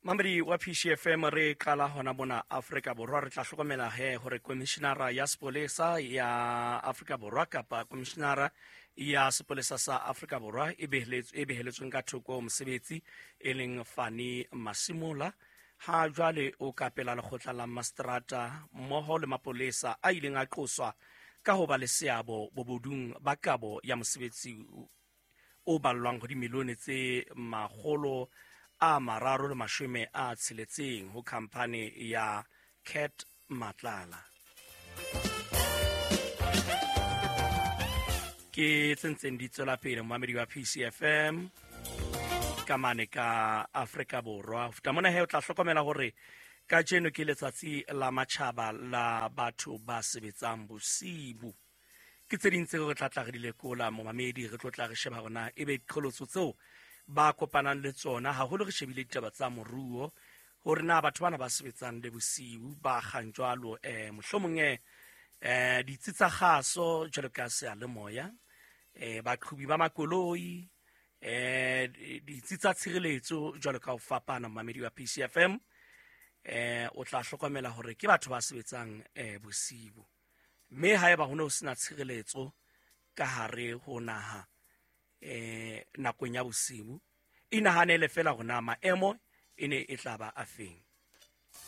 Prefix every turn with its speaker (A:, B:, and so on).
A: Mamedi wa PCFM, re qala hona mona Afrika Borwa. Re tla hlokomela he hore komishinara ya sepolesa ya Afrika Borwa, kapa komishinara ya sepolesa sa Afrika Borwa e beheletsweng ka thoko mosebetsi, e leng Fani Masimola, ha jwale o ka pela lekgotla la mastrata mmoho le mapolesa a ileng a qoswa ka ho ba le seabo bobodung ba kabo ya mosebetsi o ballwang ho dimilione tse 360 ho khamphane ya Cat Matlala. Ke tse ntseng di tswela pele, momamedi wa PCFM, ka mane ka Afrika Borwa. Ho feta mona he, o tla hlokomela hore kajeno ke letsatsi la matjhaba la batho ba sebetsang bosibu. Ke tse ding tseo re tla tla re di lekola, momamedi. Re tlo tla re sheba hore na ebe diqholotso tseo ba kopanang le tsona, haholo re shebile ditaba tsa moruo, hore na batho bana ba sebetsang le bosiu ba kgang jwalo, mohlomong ditsi tsa kgaso jwalo ka seyalemoya, baqhubi ba makoloi, ditsi tsa tshireletso jwalo ka ho fapana. Momamedi wa PCFM, o tla hlokomela hore ke batho ba sebetsang bosiu, mme haeba ho ne ho sena tshireletso ka hare ho naha nakong ya bosiu, inahanele fela hore na maemo e ne e tla ba a feng.